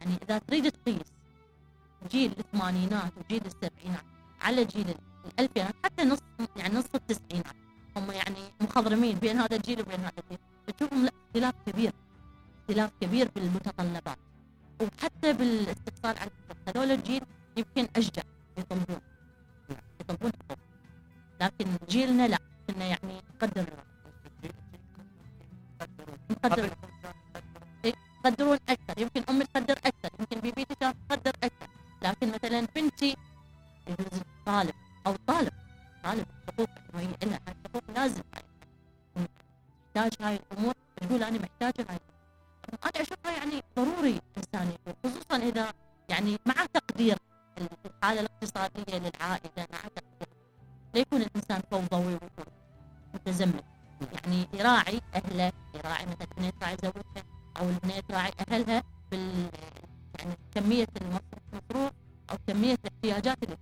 يعني اذا تريد تقيس جيل الثمانينات وجيل السبعينات على جيل الالفينات، حتى نص يعني نص التسعينات، هم يعني مخضرمين بين هذا الجيل وبين هذا الجيل، تشوفهم لا اختلاف كبير، اختلاف كبير بالمتطلبات وحتى بالاستفسار عن هذول الجيل يمكن اشجع يطلبون حقوق، لكن جيلنا لا، كنا يعني يقدرون اكثر، يمكن امي تقدر اكثر، يمكن بيبيتي كانت تقدر اكثر، لكن مثلا بنتي يجوز طالب حقوق انه هي لها حقوق لازم محتاج هاي الامور، تقول انا محتاجه هاي. انا اشوفها يعني ضروري الانسان يكون، خصوصا اذا يعني مع تقدير الحاله الاقتصاديه للعائله، مع تقدير لا يكون الانسان فوضوي ويكون متزمت، يعني يراعي اهله، يراعي مثلا البنيه تراعي زوجها او البنيه تراعي اهلها يعني كميه المصروف او كميه الاحتياجات اللي